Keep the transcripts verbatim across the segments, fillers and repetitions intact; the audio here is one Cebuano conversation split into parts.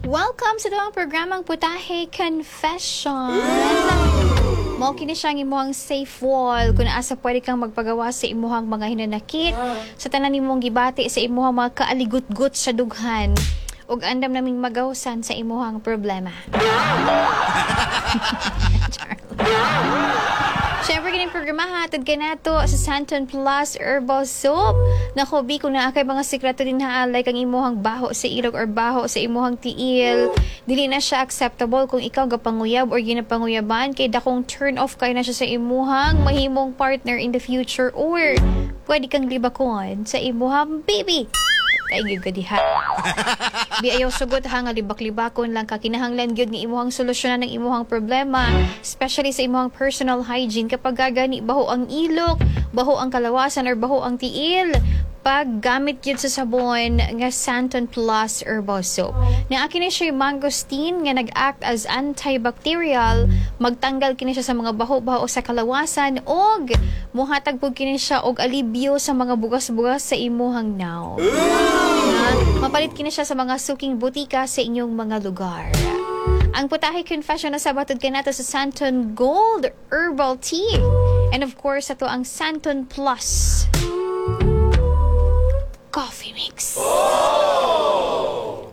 Welcome sa atoang programang Putahe Confession. Mao kini siya ang imuhang safe wall kung asa pwede kang magpagawa sa imuhang mga hinanakit, sa tanan nimong gibati sa imuhang mga kaaligut-gut sa dughan ug andam naming magawsan sa imuhang problema. Char. Siyempre, kining programa hatod kanato sa Santon Plus Herbal Soap. Nako, bi, kung naa kay mga sikreto din ha, like ang imuhang baho sa ilog or baho sa imuhang tiil, dili na siya acceptable kung ikaw gapanguyab or ginapanguyaban kay dakong turn off kay na siya sa imuhang mahimong partner in the future or pwede kang libakon sa imuhang baby. Ay, gyud ka diha. Bi ayaw sugot ha nga libak-libakon lang ka kinahanglan gyud nga imuhang solusyonan ang imuhang problema, especially sa imuhang personal hygiene kapag gagani baho ang ilok, baho ang kalawasan or baho ang tiil paggamit gyud sa sabon nga Santon Plus Herbal Soap. Naa kini siya yung mangosteen nga nag-act as antibacterial, magtanggal kini siya sa mga baho-baho sa kalawasan og muhatag pud kini siya og alibyo sa mga bugas-bugas sa imuhang nawong. Ha? Mapalit kini siya sa mga suking butika sa inyong mga lugar. Ang Putahe Confession na sabatod kanato sa Santon Gold Herbal Tea. And of course, ato ang Santon Plus Coffee Mix.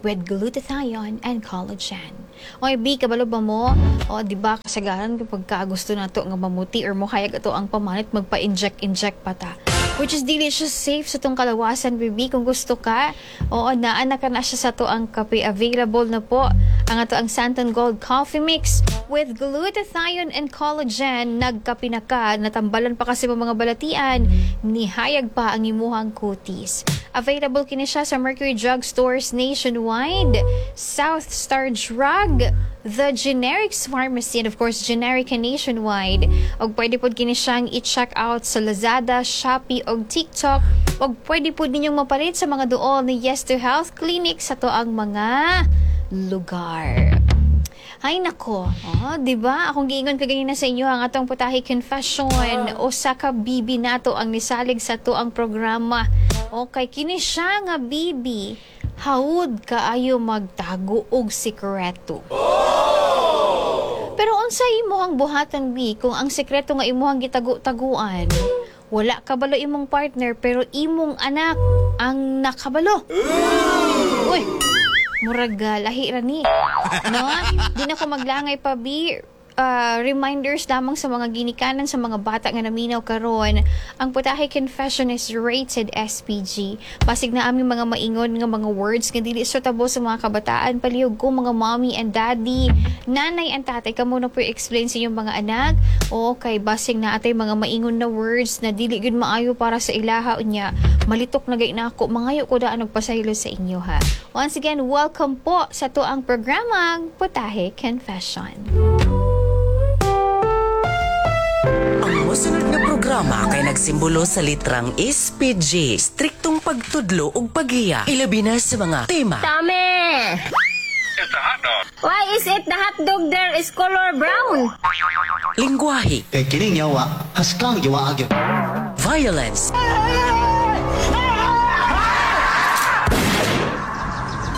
With glutathione and collagen. Oy, B, kabalo ba mo? O, di ba, kasagaran kapag ka gusto nato nga mamuti or mohayag ato ang pamanit, magpa-inject-inject pa ta. Which is dili siya safe sa atong kalawasan, baby. Kung gusto ka, oo, naa na ka na siya sa atoang kape. Available na po ang ato ang Santon Gold Coffee Mix with glutathione and collagen. Nagkape na ka, natambalan pa kasi mga balatian, nihayag pa ang imuhang kutis. Available kini siya sa Mercury Drug Stores nationwide, South Star Drug, The Generics Pharmacy, and of course, Generica nationwide. Og pwede pod kini siyang i-check out sa Lazada, Shopee, og TikTok. Og pwede pod ninyong mapalit sa mga duol ni Yes to Health Clinic sa atoang mga lugar. Ay nako, oh, 'di ba? Akong giingon kaganina sa inyo ang atong Putahe Confession usa ka bibi nato ang nisalig sa atoang programa. Okay, kini siya nga bibi hawod kaayo magtago og sikreto. Pero unsa imong buhatan bi kung ang sikreto nga imuhang gitago-taguan wala kabalo imong partner pero imong anak ang nakabalo. Uy, murag ah, lahi ra ni. No? Di na ko maglangay pa bi uh, reminders lamang sa mga ginikanan sa mga bata nga naminaw karon. Ang Putahe Confession is rated SPG. Basig na aming mga maingon nga mga words nga dili suitable sa mga kabataan palihog ko mga mommy and daddy, nanay and tatay kamo na po explain sa inyong mga anak. O kay basig na atay mga maingon na words na dili gyud maayo para sa ilaha unya. Malitok na gay na ako mangayo ko daan og pasaylo sa inyo ha. Once again, welcome po sa atoang programang Putahe Confession. Ang mosunod nga programa kay nagsimbolo sa litrang SPG, striktong pagtudlo ug paghiya. Ilabi na sa mga tema. Tame! Why is it the hot dog there is color brown? lingwahe, Kay kining yawa, haskang yawa gyud. violence,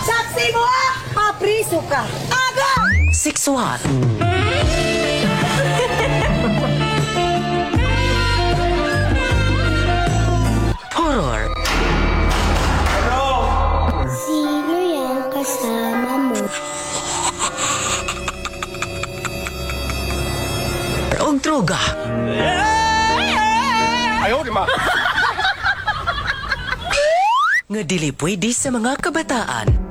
Saksi mo ah! Papriso ka! Agay! sexual, horror, Sino yung kasama mo? ug droga. Nga dili pwede sa mga kabataan.